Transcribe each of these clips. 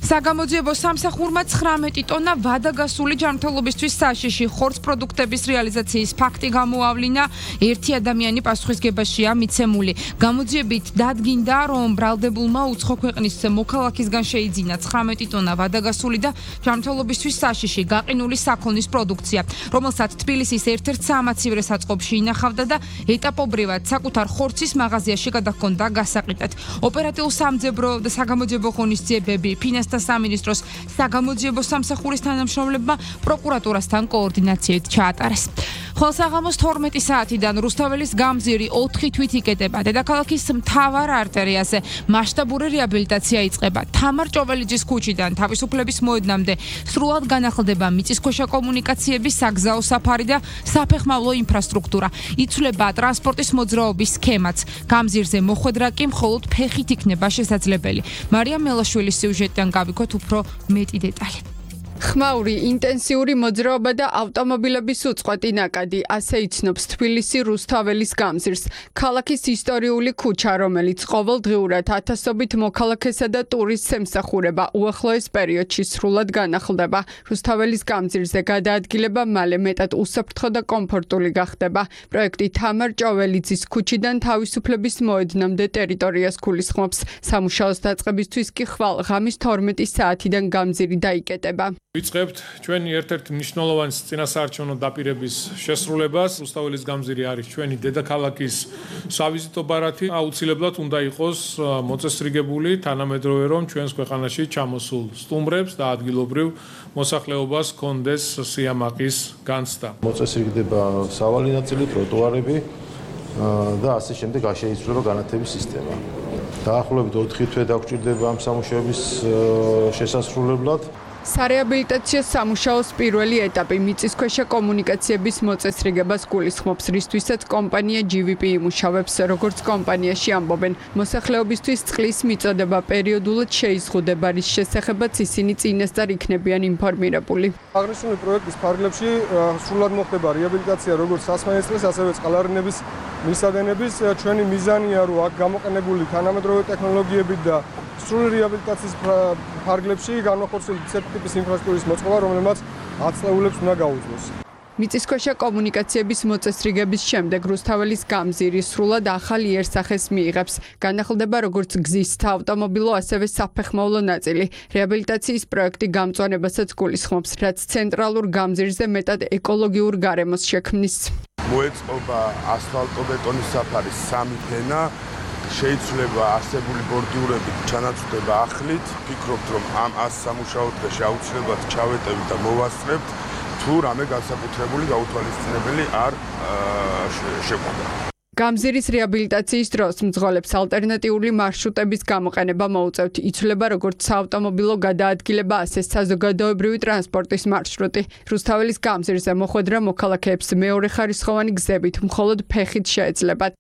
საგამოძიებო სამსახურმა 19 ტონა ვადაგასული ჯანმრთელობისთვის საშიში ხორცს პროდუქტების რეალიზაციის ფაქტი გამოავლინა. ერთი ადამიანი პასუხისგებაშია მიცემული. გამოძიებით დადგინდა, რომ ბრალდებულმა უცხო ქვეყნის მოქალაქისგან შეიძინა 19 ტონა ვადაგასული და ჯანმრთელობისთვის საშიში გაყინული საქონლის პროდუქცია, რომელსაც თბილისის ერთ-ერთ საამაცივრე საწყობში ინახავდა და ეტაპობრივად საკუთარ ხორცის მაღაზიაში გადაჰქონდა გასაყიდად. ოპერატიულ სამძებრო და საგამოძიებო ღონისძიებები ფინანსთა სამინისტროს საგამოძიებო სამსახურის თანამშრომლებმა პროკურატურასთან კოორდინაციით ჩაატარეს. ხოლსაღამოს 12 საათიდან რუსთაველის გამზირი 4 თვით იკეტება. დედაქალაქის მთავარ არტერიაზე მასშტაბური რეაბილიტაცია იწყება. თამარ ჭოველიძის ქუჩიდან თავისუფლების მოედნამდე სრულად განახლდება მიწისქვეშა კომუნიკაციების საგზაო საფარი და საფეხმავლო ინფრასტრუქტურა. იცვლება ტრანსპორტის მოძრაობის სქემაც. გამზირზე მოხვედრა კი მხოლოდ ფეხით იქნება შესაძლებელი. მარია მელაშვილის სიუჟეტიდან გავიქოთ უფრო მეტი დეტალი. ხმაური, ინტენსიური მოძრაობა და ავტომობილების უწყვეტი ნაკადი, ასე იცნობს თბილისი რუსთაველის გამზირს. ქალაქის ისტორიული ქუჩა, რომელიც ყოველდღიურად ათასობით მოქალაქესა და ტურისტს ემსახურება, უახლოეს პერიოდში სრულად განახლდება. რუსთაველის გამზირზე გადაადგილება მალე მეტად უსაფრთხო და კომფორტული გახდება. პროექტი თამარ ჭოველიძის ქუჩიდან თავისუფლების მოედნამდე ტერიტორიას გულისხმობს. სამუშაოს დაწყებისთვის კი ხვალ ღამის 12 საათიდან გამზირი დაიკეტება. ვიწყებთ ჩვენი ერთ-ერთი მნიშვნელოვანი წინასაარჩევნო დაპირების შესრულებას. რუსთაველის გამზირი არის ჩვენი დედაქალაქის სავიზიტო ბარათი. აუცილებლად უნდა იყოს მოწესრიგებული თანამედროვე, რომ ჩვენს ქვეყანაში ჩამოსულ სტუმრებს და ადგილობრივ მოსახლეობას ჰქონდეს სიამაყის განცდა. მოწესრიგდება სავალი ნაწილი, ტროტუარები და ასე შემდეგ შეიცვლება განათების სისტემა. დაახლოებით 4 თვე დაგვჭირდება ამ სამუშაოების შესასრულებლად. სარეაბილიტაციო სამუშაოს პირველი ეტაპი მიწისქვეშა კომუნიკაციების მოწესრიგებას გულისხმობს, რისთვისაც კომპანია GVP იმუშავებს, როგორც კომპანიაში ამბობენ. მოსახლეობისთვის წყლის მიწოდება პერიოდულად შეიზღუდება, რის შესახებაც ისინი წინასწარ იქნებიან ინფორმირებული. აღნიშნული პროექტის ფარგლებში სრულად მოხდება რეაბილიტაცია როგორც სასმენისწყლის, ასევე წყალარნების მისადენების. ჩვენი მიზანია, რომ აქ გამოყენებული თანამედროვე ტექნოლოგიებით და სრული რეაბილიტაციის ფარგლებში განახორციელოს ისეთი ტიპის ინფრასტრუქტურის მოწყობა, რომელმაც ათწლეულებს უნდა გაუძლოს. მიწისქვეშა კომუნიკაციების მოწესრიგების შემდეგ რუსთაველის გამზირი სრულად ახალ იერსახეს მიიღებს. განახლდება როგორც გზის საავტომობილო, ასევე საფეხმავლო ნაწილი. რეაბილიტაციის პროექტი გამწვანებასაც გულისხმობს, რაც ცენტრალურ გამზირზე მეტად ეკოლოგიურ გარემოს შექმნის. მოეწყობა ასფალტო-ბეტონის საფარის 3 ფენა. შეიცვლება არსებული ბორდიურებით ჩანაცვლება ახლით. ვფიქრობთ, რომ ამ სამუშაო დღეში აუცილებლად ჩავეტევით და მოვასწრებთ, თუ რამე განსაკუთრებული გაუთვალისწინებელი არ შეგვაქვს. გამზირის რეაბილიტაციის დროს მძღოლებს ალტერნატიული მარშრუტების გამოყენება მოუწევთ. იცვლება როგორც საავტომობილო გადაადგილება, ასე საზოგადოებრივი ტრანსპორტის მარშრუტი. რუსთაველის გამზირზე მოხვედრა მოქალაქეებს მეორეხარისხოვანი გზებით მხოლოდ ფეხით შეეძლებათ.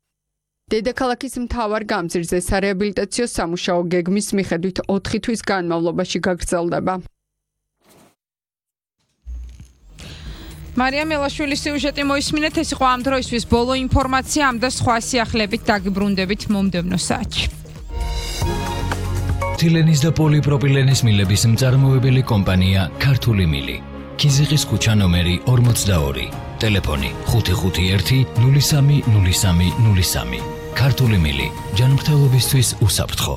დედაქალაქის მთავარ გამზირზე სარეაბილიტაციო სამუშაო გეგმის მიხედვით 4 თვის განმავლობაში გაგრძელდება. მარია მელაშვილის სიუჟეტი მოისმინეთ. ეს იყო ამ დროისთვის ბოლო ინფორმაცია. ამ და სხვა სიახლებით დაგიბრუნდებით მომდევნო საათში. თილენის და პოლიპროპილენის მილების მწარმოებელი კომპანია ქართული მილი. ქიზიყის ქუჩა ნომერი 42. ტელეფონი 551 03 03 03. ქართული მილი. ჯანმრთელობისთვის უსაფრთხო.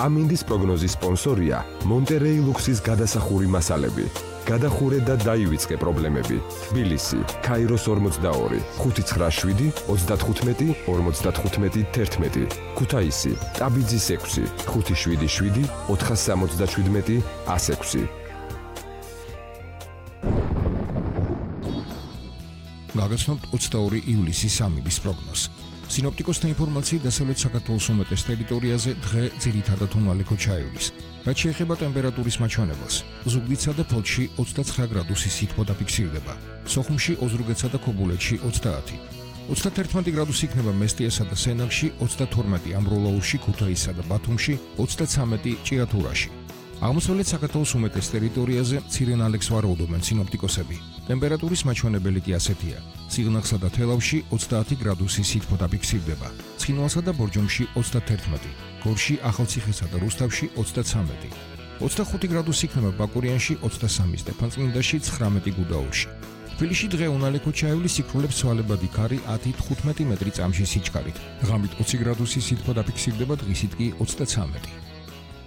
ამინდის პროგნოზის სპონსორია მონტერეი ლუქსის გადასახური მასალები. გადახურე და დაივიწყე პრობლემები. თბილისი, ქაიროს 42, 597, 35, 55, 11. ქუთაისი, ტაბიძის 6, 577, 477, 106. გაგაცნობთ 22 ივლისის ამინდის პროგნოზს. სინოპტიკოსთა ინფორმაციით დასავლეთ საქართველოს უმეტეს ტერიტორიაზე დღე ძირითადად უმალე ჩაივლის. რაც შეეხება ტემპერატურის მაჩვენებელს, ზუგდიდსა და ფოთში 29 გრადუსი სითბო დაფიქსირდება. სოხუმში, ოზურგეთსა და ქობულეთში 30. 31 გრადუსი იქნება მესტიასა და სენაკში, 32 ამბროლაურში, ქუთაისსა და ბათუმში, 33 ჭიათურაში. აღმოსავლეთ საქართველოს უმეტეს ტერიტორიაზე მცირე ნალექს ვარაუდობენ სინოპტიკოსები. ტემპერატურის მაჩვენებელი კი ასეთია: სიღნაღსა და თელავში 30 გრადუსი სითბო დაფიქსირდება, ცხინვალსა და ბორჯომში 31, გორში, ახალციხესა და რუსთავში 33. 25 გრადუსი იქნება ბაკურიანში, 23 სტეფანწმინდაში, 19 გუდაურში. თბილისში დღე უნალექო ჩაივლის სიკვდილებს ცვალებადი ქარი 10-15 მეტრი წამში სიჩქარით. ღამით 20 გრადუსი სითბო დაფიქსირდება, დღისით კი 33.